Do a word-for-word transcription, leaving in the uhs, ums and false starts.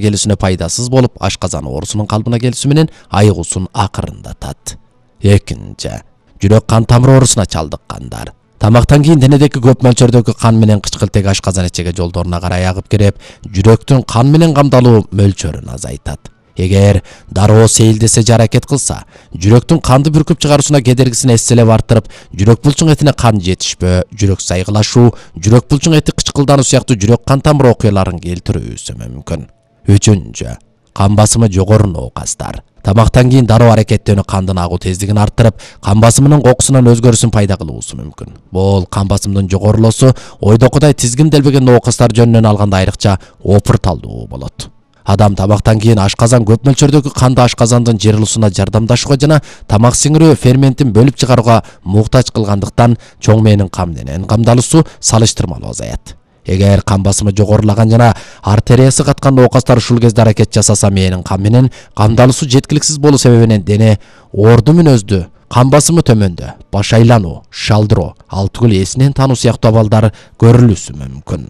келүүсүнө пайдасыз болуп, ашказан оорусунун калыбына келүүсү менен айыгуусун акырындатат. Экинчи, жүрөк кан тамыр оорусуна чалдыккандар. Тамактан кийин денедеги көп мөлчөрдөгү кан менен кычкылтек ашказан ичеге жолдоруна карай агып кирип, жүрөктүн кан менен камдалуу мөлчөрүн азайтат. Эгер дароо сейилдесе же аракет кылса, жүрөктүн канды бүркүп чыгаруусуна кедергисин эсселеп арттырып, жүрөк булчуң этине кан жетишпөө, жүрөк сайгылашуу, жүрөк булчуң эти кычкылдануу сыяктуу жүрөк кан тамыр окуяларын келтирүүсү мүмкүн. Үчүнчү, кан басымы жогору оокастар. Тамактан кийин дароо аракеттөөнү кандын агуу тездигин арттырып, кан басымынын кокусунан өзгөрүүсүн пайда кылуусу мүмкүн. Бул кан басымдын жогорулоосу ойдокудай тизгинделбеген оокастар жөнүнөн алганда айрыкча опурталдуу болот. Адам тамактан кийин ашказан көп мөлчөрдөгү канды ашказандын жырылуусуна жардамдашууга жана тамак сиңирүү ферментин бөлүп чыгарууга муктач кылгандыктан чоң мээнин кан менен камдалуусу салыштырмалуу азаят. Эгер кан басымы жогорулаган жана артериясы каткан оокастар ушул кезде аракет жасаса, мээнин кан менен камдалуусу жеткиликсиз болуу себебинен дене орду мүнөздүү, кан басымы төмөндө, баш айлануу, шалдыроо, ал түгүл эсинен таануу сыяктуу абалдар көрүлүшү мүмкүн.